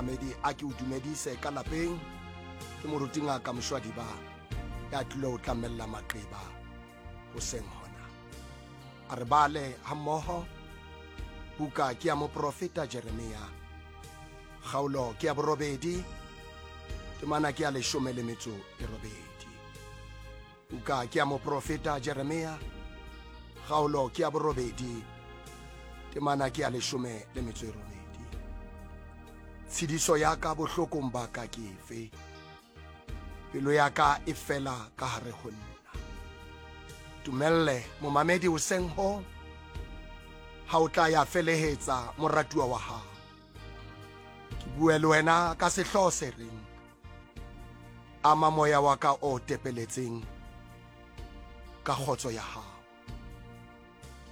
Momamedi, a ke o dumedise ka lapeng. Ke moruti Ngaka Moshwadiba ya tlilo o tlamella maqeba hoseng hona. A re bale hammoho buka ke ya moprofeta Jeremia, kgaolo ke ya borobedi, temana ke ya 18. Buka ke ya moprofeta Jeremia, kgaolo ke ya borobedi, temana ke ya 18. Tshediso ya ka bohlokong ba ka ke efe? Pelo ya ka e fela ka hare ho nna. Tumelle momamedi hoseng ho ha o tla ya felehetsa moratuwa wa hao. Ke bue le wena ka sehlooho se reng ama moya wa ka o tepeletseng ka kgotso ya hao.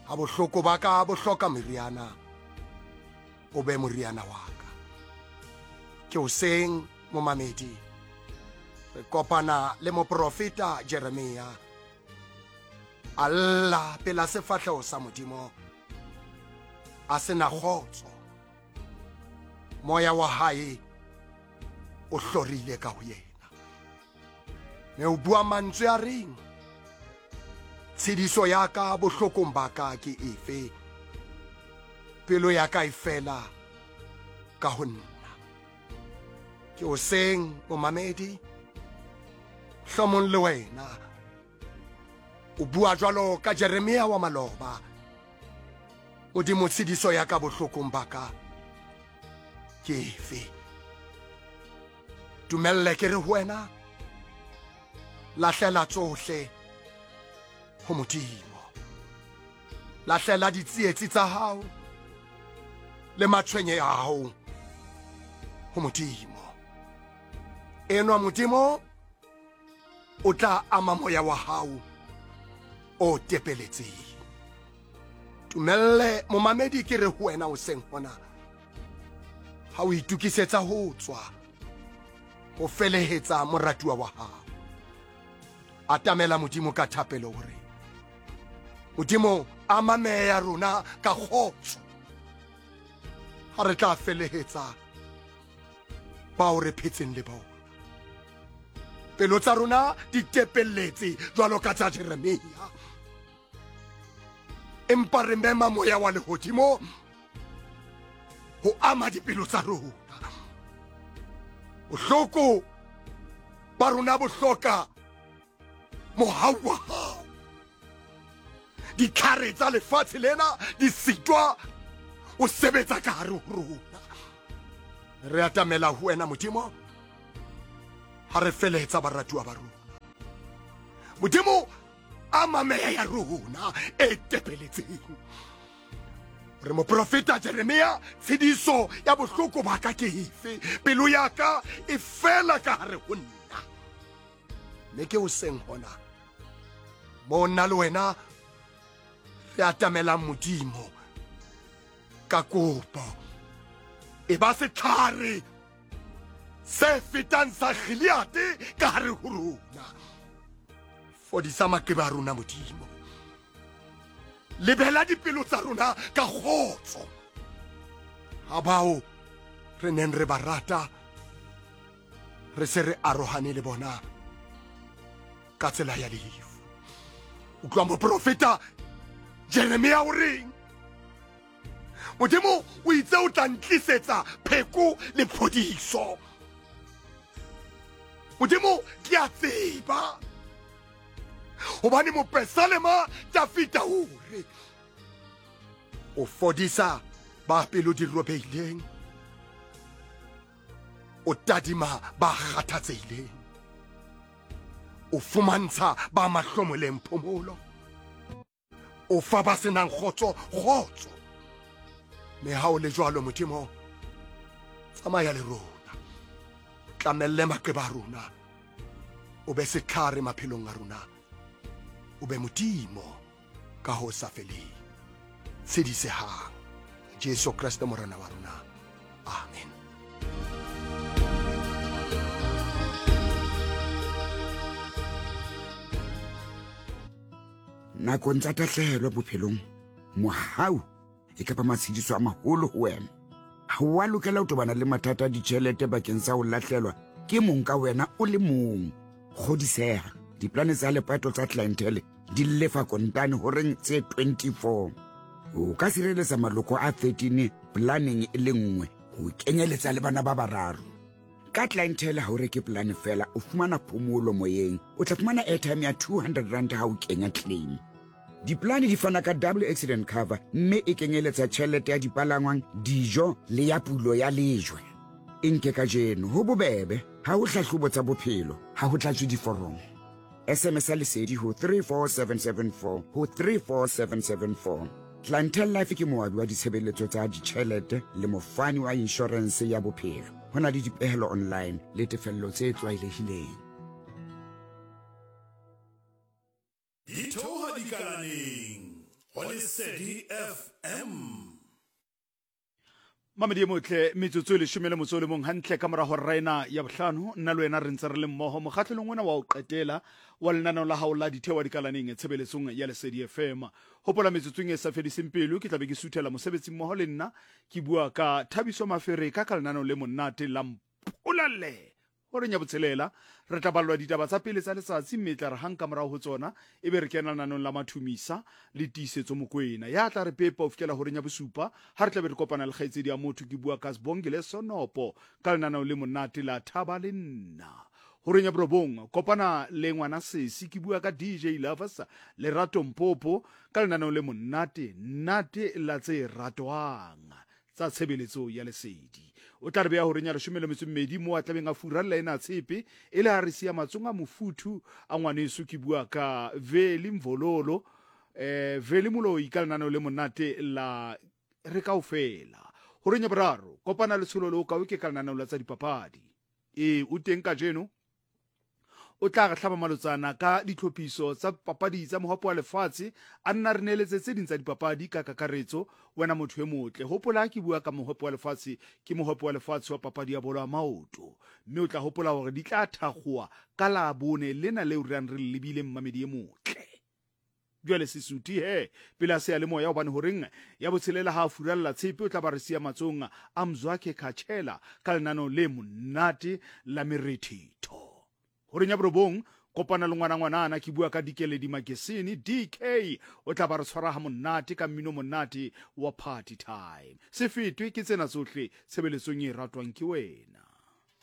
Ha bohloko ba ka bo hloka meriana, o be moriana wa ka. Ke hoseng momamedi, re kopana le moprofeta Jeremia a lla pela sefahleho sa Modimo a sena kgotso. Moya wa hae o hlorile ka ho yena, me o bua mantswe a reng, tshediso ya ka bohlokong ba ka ke efe? Pelo ya ka e fela ka ho nna. Ke hoseng momamedi, hlomong le wena o bua jwalo ka Jeremia wa maloba. Modimo, tshediso ya ka bohlokong ba ka ke efe? Dumelle ke re ho wena, lahlela tsohle ho Modimo. Lahlela ditsietsi tsa hao le matshwenye a hao ho Modimo. Enwa Modimo o tla ama moya wa hao o tepeletseng. Tumelle momamedi ke re ho wena hoseng hona, ha o itokisetsa ho tswa ho felehetsa moratuwa wa hao, atamela Modimo ka thapelo hore Modimo ama meya ya rona ka kgotso ha re tla felehetsa bao re phetseng le bona. Pelo tsa rona di tepelletse jwalo ka tsa Jeremia, empa re mema moya wa lehodimo ho ama dipelo tsa rona. Bohloko ba rona bo hloka mohau wa hao. Ditlhare tsa lefatshe lena di sitwa o sebetsa ka hare ho rona. Re atamela ho wena Modimo ha re felehetsa baratuwa ba rona. Modimo, ama meya ya rona e tepeletseng. Re moprofeta Jeremia, tshediso ya bohloko ba ka ke efe? Pelo ya ka e fela ka hare ho nna. Mme ke hoseng hona mo nna le wena re atamelang Modimo ka kopo. E ba setlhare se fetang sa Gileade ka hare ho rona. Fodisa maqeba a rona Modimo. Lebela dipelo tsa rona ka kgotso. Ha bao re neng re ba rata re se re arohane le bona ka tsela ya lefu. Utlwa moprofeta Jeremia o reng? Modimo o itse o tla ntlisetsa pheko le phodiso. Modimo ke a tseba hobane mopesalema Dafita o re o fodisa ba pelo di robehileng, o tadima ba kgathatsehileng, o fumantsha ba mahlomoleng phomolo, o fa ba senang kgotso kgotso. Mme ha o le jwalo Modimo, tsamaya le rona, tlamelle maqeba a rona, o be setlhare maphelong a rona, o be Modimo ka ho sa feleng. Tshedisehang Jesu Kreste Morena wa rona. Amen. Nakong tsa tahlehelo bophelong, mohau e ka ba matshediso a maholo ho wena. Ha o a lokela ho tobana le mathata a ditjhelete bakeng sa ho lahlelwa ke mong ka wena o le mong. Kgodiseha, diplane tsa lepato tsa Clientele di lefa kontane horeng tse 24. O ka sireletsa maloko a 13 planeng e le nngwe ho kenyeletsa le bana ba bararo. Ka Clientele ha o reke polane fela, o fumana phomolo moyeng. O tla fumana airtime ya 200 rand ha o kenya claim. Dipolane di fana ka double accident cover mme e kenyeletsa tjhelete ya dipalangwang, dijo le ya pulo ya lejwe. E nke kajeno, ho bobebe, ha ho hlahlobo tsa bophelo, ha ho tlatswe diforomo. SMS ya Lesedi ho 34774 ho 34774. Clientele Life ke moabi wa ditshebeletso tsa ditjhelete le mofani wa inshorense ya bophelo. Ho na le dipehelo online le tefello tse tlwaelehileng. Di theoha dikalaneng go Lesedi FM. Mamedi e motle, metsotso e leshome le motso o le mong hantle ka mora hora ena ya bohlano, nna le wena re ntse re le mmoho mokgahlelong ona wa ho qetela wa lenaneo la hao la Ditheoha Dikalaneng tshebeletsong ya Lesedi FM. Hopola metsotsong e sa fediseng pelo ke tla be ke suthela mosebetsi mmoho le nna ke bua ka Thabiso Mafereka ka lenaneo le monate la Mpolalle. Horeng ya botshelela, re tla ballwa ditaba tsa pele tsa letsatsi mme e tla re hang ka morao ho tsona ebe re kena lenanong la Mathumisa le Tiisetso Mokoena ya tla re pepa ho fihlela horeng ya bosupa ha re tla be re kopana le kgaitsedi ya motho ke bua ka Sbongile Sonopo ka lenaneo le monate la Thaba le Nna. Horeng ya borobong, kopana le ngwana sesi ke bua ka DJ Lovers Lerato Mpopo ka lenaneo le monate nate la tse ratwang. tsa tshebeletso ya lesedi. O tla re beya horeng ya leshome le metso mmedi moo a tlabeng a furalla ena tshepe e le ha re siya matsong a mofuthu a ngwaneso ke bua ka Veli Mvololo eh Veli Moloi ka lenaneo le monate la re kaofela. Horeng ya boraro kopana le Tsholo le Okawe ke ka lenaneo la tsa dipapadi. Ee o teng kajeno O tla re hlaba malotsana ka ditlhophiso tsa papadi tsa mohope wa lefatshe, a nna re neeletse tse ding tsa dipapadi ka kakaretso. Wena motho e motle, hopola ha ke bua ka mohope wa lefatshe, ke mohope wa lefatshe wa papadi ya bolo ya maoto. Mme o tla hopola hore di tla thakgowa ka Labone lena leo re yang re le lebile, mmamedi e motle. Jwale Sesuthi he, pele a seyalemoya, hobane horeng ya botshelela ha a furalla tshepe o tla ba re siya matsong a Mzwakhe Khatshela ka lenaneo le monate la merethetho. Horeng ya borobong, kopana le ngwana ngwanana, ke bua ka Dikeledi Makesene, DK, o tla ba re tshwara ha monate ka mmino monate wa Party Time. Se fetwe ke tsena tsohle tshebeletsong e ratwang ke wena.